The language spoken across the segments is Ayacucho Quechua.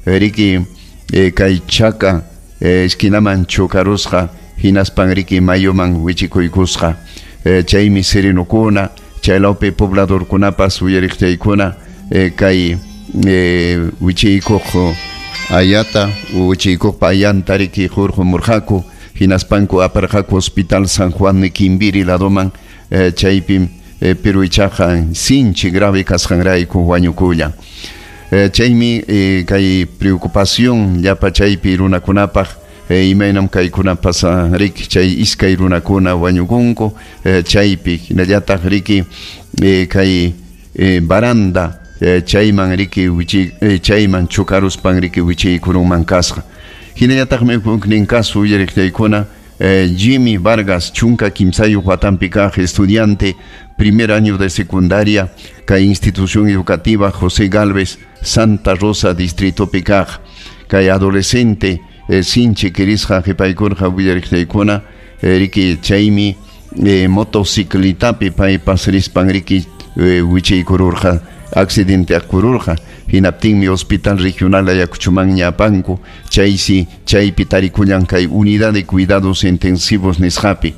Riki kay chaka esquinaman chocarusqa hinaspan riki mayuman wichikuykusqa. Chaymi serenokuna chaylawpi pobladorkunapas uyariqchaykuna kay wichiykuq ayata wichiykuqpa ayanta riki hurqumurqaku hinaspanku aparqaku Hospital San Juan de Kimbiri ladoman chaypim pero ichaqa sinchi grave kasqanrayku wañukullan. Chaymi kay preocupación llapa chaypi runakunapaq imaynam kaykuna pasan riki chay iskay runakuna wañukunku chaypi hinallataq riki kay baranda chayman riki chayman chukaruspan riki wichiykurunman kasqa. Hinallataqmi huknin caso uyariqchaykuna Jimmy Vargas, chunka kimsayuq watanpi kaq estudiante, primer año de secundaria, kay institución educativa José Galvez, Santa Rosa, distrito kaq, kay adolescente sinchi kirisqa qhipaykurqa willariqchaykuna riki chaymi motociclitapi paypas rispan riki wichiykururqa accidente akururqa hinaptinmi Hospital Regional Ayacuchomanña apanku chaysi chaypi tarikullan kay unidad de cuidados intensivos nisqapi.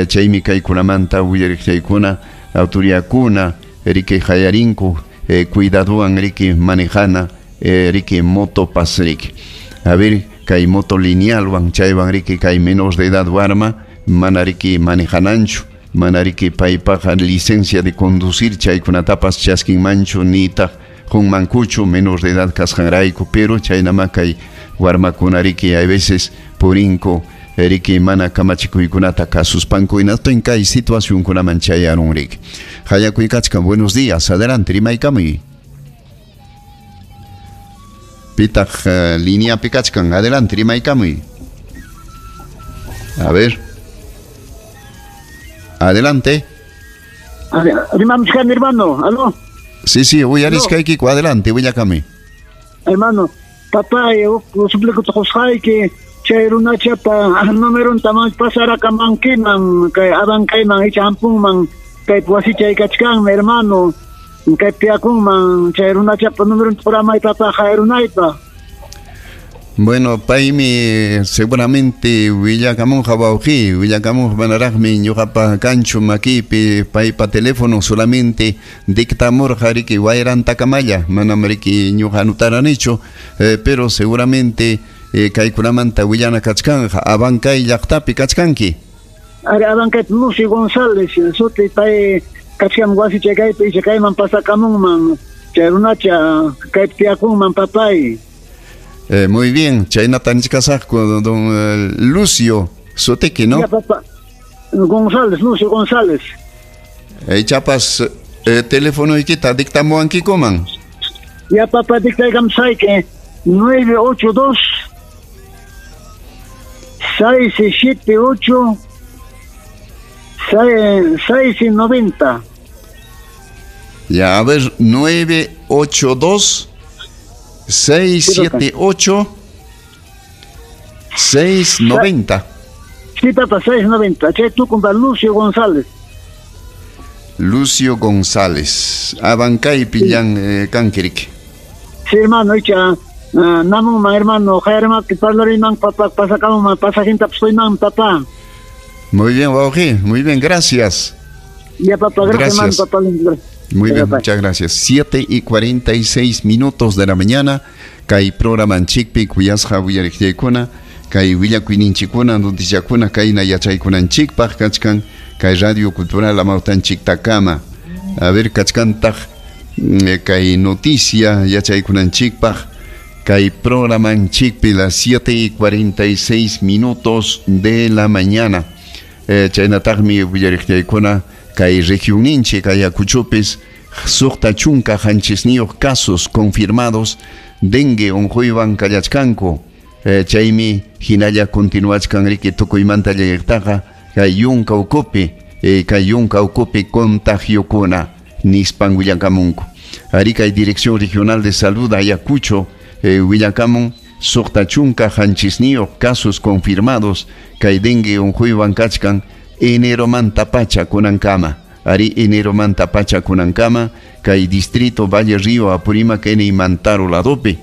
Chaymi kaykunamanta willariqchaykuna autoridadkuna riki hayarinku cuidadowan riki manejana riki motopas riki. A ver kay moto linealwan chaywan riki kay menor de edad warma mana riki manejananchu mana riki paypaqa licencia de conducir chaykunatapas chaskinmanchu nitaq qunmankuchu menor de edad kasqanrayku pero chaynama kay warmakuna riki a veces purinku riki mana kamachikuykunata kasuspanku hinaspa kay situacionkunaman chayarun riki. Hayakuykachkan, buenos días, adelante, rimaykamuy. Pitaq línea kachkan, adelante, rimaykamuy. A ver. Adelante. Rimamchkan, hermano, aló. Sí, sí, uyariskaykiku, adelante, willakami. Hermano, papá, suplico que chay runachapa numeronta pasarakamankiman kay abankayman icha hampunman kay wasichay kachkanmi, hermano, kay piakunman chay runachapa numeronta quramay papá hayrunaypa. Bueno, paymi seguramente willakamunqa wawqi, willakamunqa manaraqmi ñuqapa kanchu makipi paypa teléfono solamente dictamurqa riki wayrantakamalla, manam riki ñuqa anutaranichu, pero seguramente kaykunamanta willana kachkanja, Abancay llaqtapi kachkanki. Ari Abancay Lucio González, suti pay kachkan wasichay kaypi icha kayman pasakamunman, chay runacha kaypi tiyakunman papay. Muy bien, chaynata nichkasaqku don Lucio sutiki, ¿no? Ya, papá. González, Lucio González. Chapas teléfonoykita dictamuwankikuman. Ya, papá, dictaykamsayki 982 678 690. Ya, a ver, 982 678 690. Sí, papá, 690. Che, tú con Lucio González. Lucio González. Abancay pillan kankirik. Sí, hermano, icha namun hermano, jairma que parlariman papá, pasacamos pasajinta psoiman papá. Muy bien, wawqi, muy bien, gracias. Ya, papá, gracias, gracias. Hermano, papá. Muy bien, muchas gracias. 7:46 de la mañana, kay programanchikpi kuyasqa willariqchaykuna, kay willakuyninchikkuna, noticiakuna, kayna yachaykunanchikpaq kachkan, kay Radio Cultural Amawtanchiktakama. A ver, kachkantaq kay noticia yachaykunanchikpaq, kay programanchikpi las 7:46 de la mañana. Chaynataqmi willariqchaykuna kay regionninchik Ayacuchopis suqta chunka hanchisniyuq casos confirmados dengue unquywan kallachkanku. Chaymi hinalla continuachkan riki tukuymanta llayaqtaqa kay yunka ukupi contagiokuna nispan willakamunku. Ari kay Dirección Regional de Salud Ayacucho willakamun suqta chunka hanchisniyuq casos confirmados kay dengue unquywan kachkan enero manta pacha kunankama. Ari enero manta pacha kunankama kay distrito Valle Río Apurímac Ene y Mantaro ladopi.